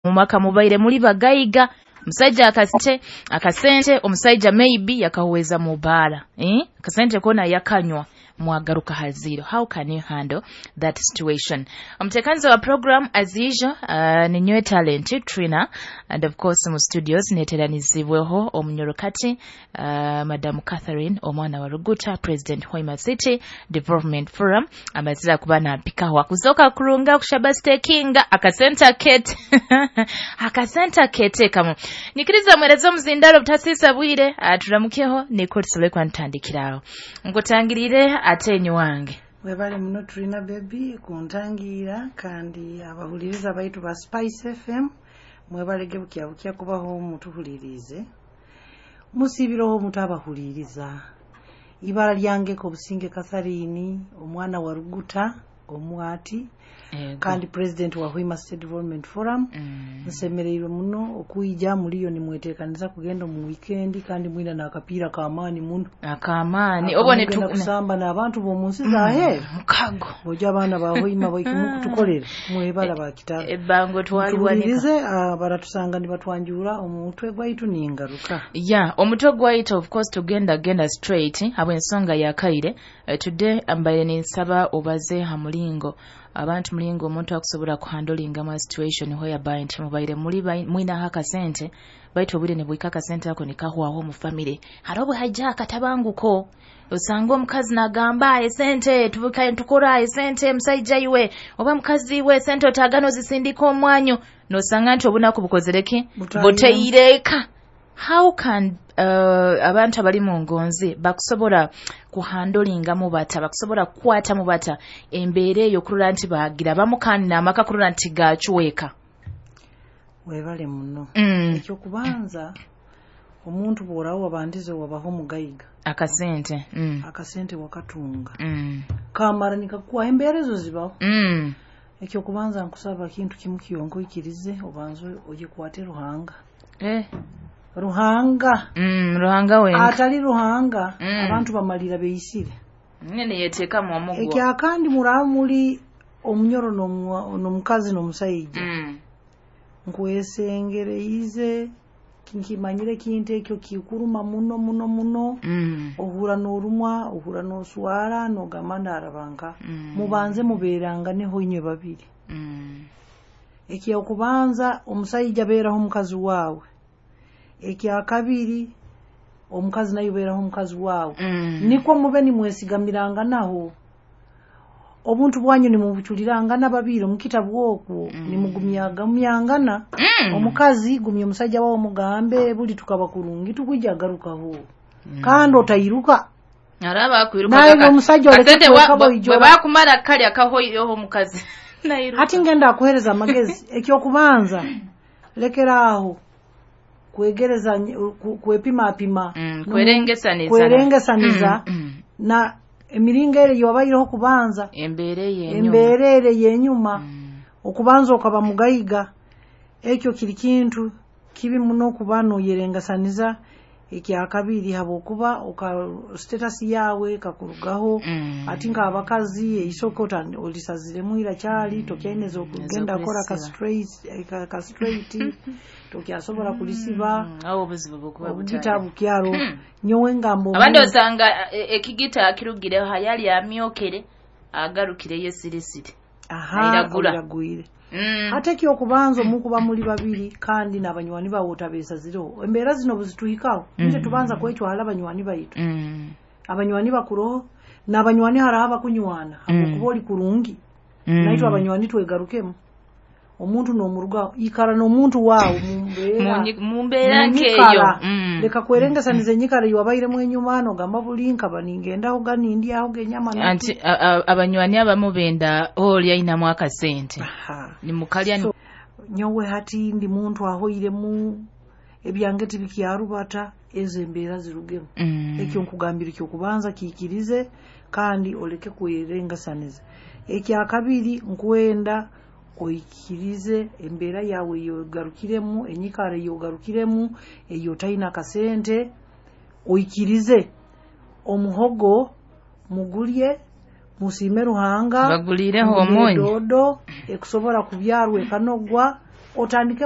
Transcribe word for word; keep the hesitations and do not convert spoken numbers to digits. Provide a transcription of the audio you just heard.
Mumaka mubaire muli bagaiga, omusajja akasente akasente omusajja maybe yakahuweza mubaara, eh? Akasente kona yakanywa, mwagaruka ha zero. How can you handle that situation? Omuteekanizi wa program as usual, uh, ninyowe Talent Trina, and of course mu studios neteranizibweho omunyorokati, uh, Madam Catherine Omwana wa Ruguta, President Hoima City Development Forum. Amazira kuba nampikaho akuzoka kurunga kushaba stakinga akasenta kete akasenta kete kamu nyikiriza mwereze omuzindalo butasisa bwire aturamukeho niko tusobole kwantandikiraho nkutangirire atenyi wange. Webale muno Trina baby kuntangira, kandi abahuliriza baitu ba Spice F M mwebalege bukya bukya kubaho mutuhulirize musibiroho mutabahuliriza. Ibara lyangeko Obusinge Catherine Omwana wa Ruguta omwati kandi president wa Hoima State Development Forum. Mm. Nsemereirwe muno okuija muliyo nimwetekaniza kugenda mu weekend, kandi mwina n'akapiira k'amaani muno. Akamaani obo Mugenda netu kusamba n'abantu b'omu nsi zaheeru. Mukago. Ojo abaana ba Hoima baikumukutukolera mwebala bakitalo. Ebbango twaliwanika. Tuwulirize, ah, baratusanga nibatwanjura omutwe gwaitu ningaruka. Ya omutwe gwaitu, of course tugenda genda straight habw'ensonga yakaire. uh, today mbaire ninsaba obaze ha mulingo abantu mulingo omuntu akusobola kuhandolingamu a situation whereby nti mubaire muli bai- mwinaho akasente, baitu obwire nibwika akasente ako nikahwaho mu family. Hariho bwe haija akatabanguko, osanga omukazi nagamba esente tubukaye tukora esente, musaija iwe oba mukazi iwe esente otagana ozisindika omwanyu, nosanga nti obunaku bukozereki. Butahiremu. Buteireka. How can uh, abantu abali mu ngonzi bakusobola kuhandolingamu bata, bakusobola kukwatamu bata embeera eyo kurora nti bagira bamu kandi n'amaka kurora nti gacweka? Webale muno. Mm. Ekyokubanza, omuntu bw'orawo wabandize wabaho omugaiga, akasente mm. akasente wakatunga, Mm. kamara nikakuha embeera ezo zibaho. Mm. Ekyokubanza nkusaba kintu kimu kyonka, oikirize obanze oyekwate Ruhanga. Eh. Ruhanga. Mm, Ruhanga wenka. Atali Ruhanga, Mm. abantu bamalira beisire. Nyene yeteekamu omugwa. Ekyakandi muraba muli omunyoro n'omwa- n'omukazi n'omusaija, Mm. nkwesengereize, nkimanyire kintu ekyo kikuruma muno muno muno. Mm. Ohura n'orumwa, ohura n'oswara, n'ogamba ndarabanka. Mm. Mubanze mubeeranganeho inywe babiri. Mm. Ekyokubanza, omusaija beeraho omukazi waawe. Ekyakabiri, omukazi naye beeraho omukazi waawe. Mm. Nikwo mube nimwesigamiranganaho, obuntu bwanyu nimubuculirangana babiri omukitabu okwo, Mm. nimugumyagumyangana. Mm. Omukazi gumya omusajja wawe, mugambe buli tukaba kurungi tukwija garukaho, Mm. kandi otairuka. Araba akwiruka. Naye kaka- omusajja oleke Akasente wa- kweka bwe boijora. bwe bakumara kalya kahoireho omukazi nairuka. Hati ngenda akuhereza amagezi. Ekyokubanza, lekeraaho kwegereza ku- kwepimapima. Mm, Nomu- kwerengesaniza. Kwerengesaniza Mm, mm. na emiringo ere yobaireho kubanza. Embeera eyo enyuma. Embeera ere yenyuma. Mm. Okubanza okaba mugaiga, ekyo kiri kintu kibi muno okuba noyerengasaniza. Ekyakabiri, habwokuba oka status yawe ekakurugaho. Mm. Ati nk'abakazi eisoke ota- olisaziremu irakyali tokyaineza okugenda akora ka Ez'okulisiba. straight, ka, ka straight tokyasobola kulisiba. Mm, awo obuzibu bukuba obugita butali bukyalo. Hmm. Nyowe ngamba abandi omuntu- osanga eh, ekigita akirugireho hayali amyokere agarukireyo esirisiri. Aha. Airagura. Oiragwire. Mm. Ate ekyokubanza, omukuba muli babiri kandi n'abanywani bawe otabeesazireho. Embeera zino buzituhikaho, nje Mm. tubanza kwecwala abanywani baitu. Mm. Abanywani bakuroho n'abanywani haraho abakunywana habwokuba oli kurungi. Mm. Naitwe abanywani twegarukemu, omuntu n'omurugaho, ikara n'omuntu waawe mumbeera. Munyi- mu mbeera nkeeyo. Munyikara. Mm. Leka kwerengesaniza enyikara eyowabairemu enyuma, nogamba buli nkaba ningendaho ga nindyaho genyama. Anti a- a- abanywani abamu benda oli ayinamu akasente. Aha. Nimukalya. So, nyowe hati ndi muntu ahoiremu ebyange tibikyarubata, ezo embeera zirugemu. Mm. Ekyo nkugambira ekyokubanza, kiikirize kandi oleke kwerengasaniza. Ekyakabiri, nkwenda oikirize embeera yawe eyogarukiremu, enyikara eyogarukiremu eyo otaina akasente, oikirize omuhogo mugulye, musiime Ruhanga. Bagulireho mugule omunyu. Doodo ekusobola kubyarwa ekanogwa, otandike.